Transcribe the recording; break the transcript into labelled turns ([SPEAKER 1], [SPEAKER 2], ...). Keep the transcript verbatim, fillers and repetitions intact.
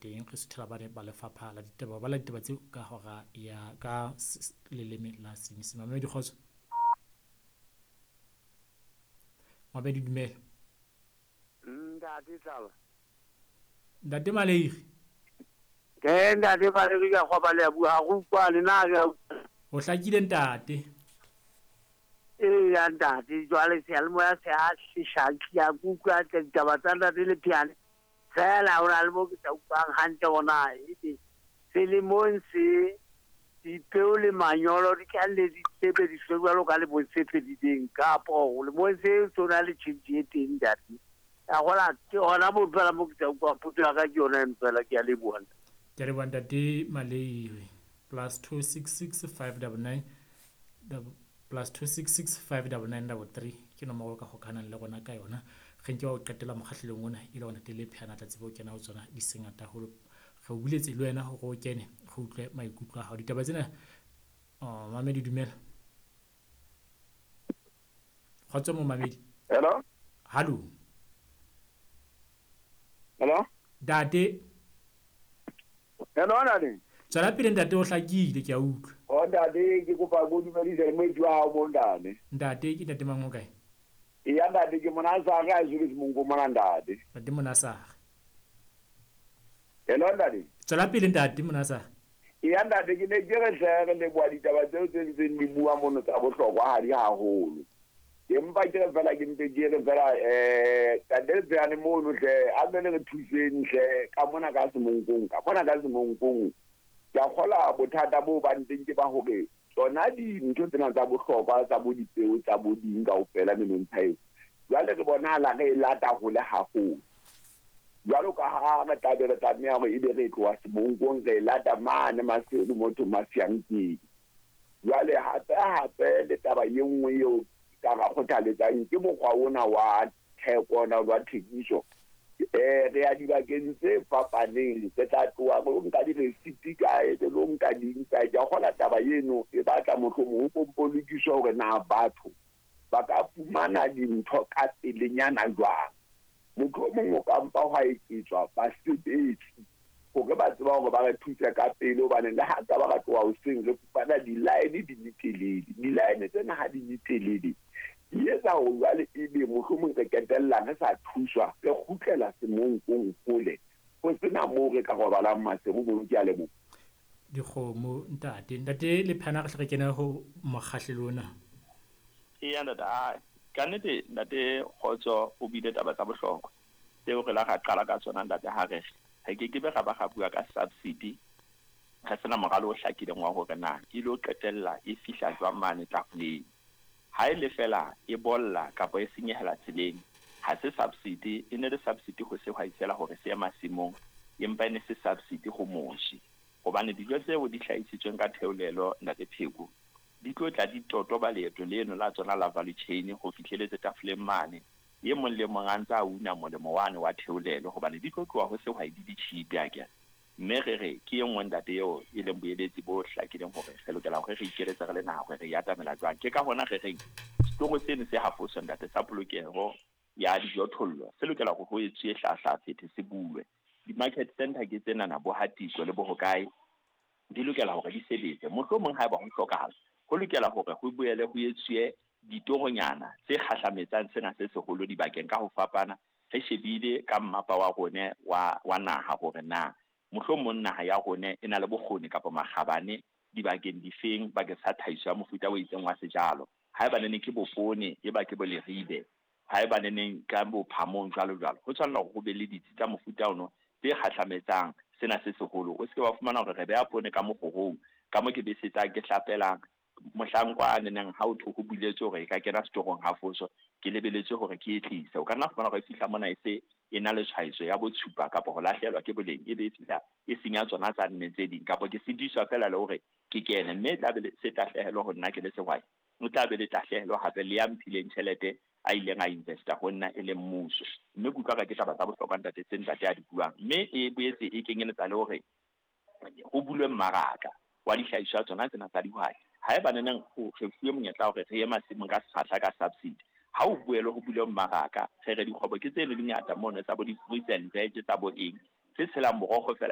[SPEAKER 1] Teng re suthela bane ba lefapha la ditaba, ba la ditaba tseo ka hora ya ka leleme la Senyesemane. Mamedi kgotso. Mamedi dumela.
[SPEAKER 2] Ntate Tlala.
[SPEAKER 1] Ntate Maleiri.
[SPEAKER 2] Ke ntate Maleiri ka kwa bale bua ha go utlwane na ke.
[SPEAKER 1] O hlakile ntate.
[SPEAKER 2] Ee ya ntate jwale seyalemoya se a seshaki ya kutlwa ditaba tsa ntate le piano. Fela o na le mo ke sa utlwang hantle ona ebe selemong se dipeo le manyolo di tla le di sebediswe jwalo ka lemong se fedileng kapo lemong se tsona le tjhentjhe e teng ntate. A gola ke hona mo fela mo ke sa utlwang potso ya ka ke yona eno fela ke a leboha.
[SPEAKER 1] Ke a leboha ntate Maleiri. Plus two six six five double nine plus two six six five double nine double three ke nomoro ka hokahanang le rona ka yona. Re nke wa ho qetela mokgahlelong ona e le hore ntate Lepheana tla tsebe ho kena ho tsona di se ngata haholo. Re o buletse le wena hore o kene re utlwe maikutlo a hao. Ditaba tsena oh, mamedi dumela. Kgotso mo mamedi.
[SPEAKER 3] Hello.
[SPEAKER 1] Hallo.
[SPEAKER 3] Hello.
[SPEAKER 1] Ntate.
[SPEAKER 3] Hello ntate.
[SPEAKER 1] Tswela pele ntate o hlakile ke a utlwa.
[SPEAKER 3] O ntate ke kopa go dumedisa le moeti wa hao mo ntate.
[SPEAKER 1] Ntate ke ntate mang o kae?
[SPEAKER 3] Eya ntate ke Monasare a jwetse monko mona ntate.
[SPEAKER 1] Ntate Monasare.
[SPEAKER 3] Hello ntate.
[SPEAKER 1] Tswela pele ntate Monasare.
[SPEAKER 3] Eya ntate ke ne ke re hle re leboha ditaba tseo tse ntseng di bua mono tsa bohlokwa ha di haholo. Empa ke re fela ke mpe ke re fela eh ntate Lepheane mono hle a be le re thuseng hle ka mona ka semonkong ka mona ka semonkong. Ke a kgola bothata bo bang teng ke ba hore tsona dintho tsena tsa bohlokwa tsa bo dipeo tsa bo ding kaofela menontsha eo jwale re bonahala re e lata hole haholo. Jwalo ka ha re tla be re tlameha hore ebe re tloha semonkong re e lata mane Maseru motho Masiang teng. Jwale hape hape le taba e nngwe eo ka ra kgothaletsang ke mokgwa ona wa theko ona wa thekiso. Eh re ya dibakeng tse fapaneng re tla tloha re nka di-receipt kae re lo nka ding kae. Ke a kgola taba eno e batla mohlomong ho kompolokiswa hore na batho ba ka fumana dintho ka pelenyana jwang. Mohlomong o ka mpa hwa eketswa basebetsi hore ba tseba hore ba re thuse ka pele hobane le ha ka ba ka tloha hoseng re fumana di-line di le telele. Di-line tsena ha di le telele di etsa hore jwale ebe mohlomong re qetella re sa thuswa re kgutlela semonkong hole ho sena moo re ka robalang Maseru mono. Ke a leboha.
[SPEAKER 1] Dikgomo ntate. Ntate Lepheana re hle re kene ho mokgahlelo ona.
[SPEAKER 4] Eya ntate, ai ka nnete ntate Kgotso o buile taba tsa bohlokwa tseo re la ra qala ka tsona ntate ha re re ke ke be ra ba ra bua ka subsidy re sena moralo o hlakileng wa hore na e lo qetella e fihla jwang mane tafoleng. Ha e le fela e bolla kapa e senyehela tseleng ha se subsidy, e ne le subsidy ho sehwai fela hore se ye masimong, empa e ne se subsidy ho moshi hobane dijo tseo di hlahisitsweng ka theolelo ntate Pheko di tlo tla di totoba leeto leno la tsona la value chain ho fihleletse tafoleng mane. E mong le mong a ntse a una molemo wane wa theolelo hobane di tlo tloha ho sehwai di di cheap akere. Mme re re ke e nngwe ntate eo e leng boeletsi bo hlakileng hore re lokela hore re ikeletse re le naha hore re e atamela jwang. Ke ka hona re reng setoro seno se hafoso ntate sa polokeho ya dijothollo se lokela hore ho etsuwe hlahlafethe se bulwe. Di-market center ke tsenana bo Hatiko le bo hokae di lokela hore di sebetse. Mohlomong haeba ho hlokahala ho lokela hore ho boele ho etsuwe ditoronyana tse kgahlametsang sena se seholo dibakeng ka ho fapana. Re shebile ka mmapa wa rone wa, wa naha hore na mohlomong naha ya rone e na le bokgoni kapa makgabane dibakeng difeng bakeng sa tlhahiso ya mofuta o itseng wa sejalo. Haeba nene ke bopone, e ba ke bo leribe, haeba neneng ka bo phamong jwalo jwalo. Ho tshwanela hore ho be le ditsi tsa mofuta ono tse kgahlametsang sena se seholo. O se ke wa fumana hore re beha poone ka mokgorong, ka mo ke besetsang ke hlapelang mohlang kwa neneng ha o thwe ho buletswe hore e ka kena setorong ha foso ke lebeletse hore ke e tlise. O ka nna fumana hore e fihla mona e se e na le tshwaetso ya botshupa kapa ho lahlehelwa ke boleng, e be e fihla e senya tsona tsa nne tse ding kapa ke sitiswa fela le hore ke kene, mme e tla be se tahlehelo ho nna ke le sehwai. O tla be le tahlehelo hape le ya mphileng tjhelete a ileng a investa ho nna e le mmuso. Mme ke utlwa ka ke taba tsa bohlokwa ntate tse ntate a di buang, mme e boetse e kenyeletsa le hore ho bulwe mmaraka wa dihlahiswa tsona tsena tsa dihwai. Haeba neneng ho re fuwe monyetla hore re ye masimong ka sekgahla ka subsidy, ha o boele ho bulwe mmaraka re re dikgwebo ke tse le dingata mono tsa bo di-fruits and veg tsa bo eng Tse tshelang borokgo fela.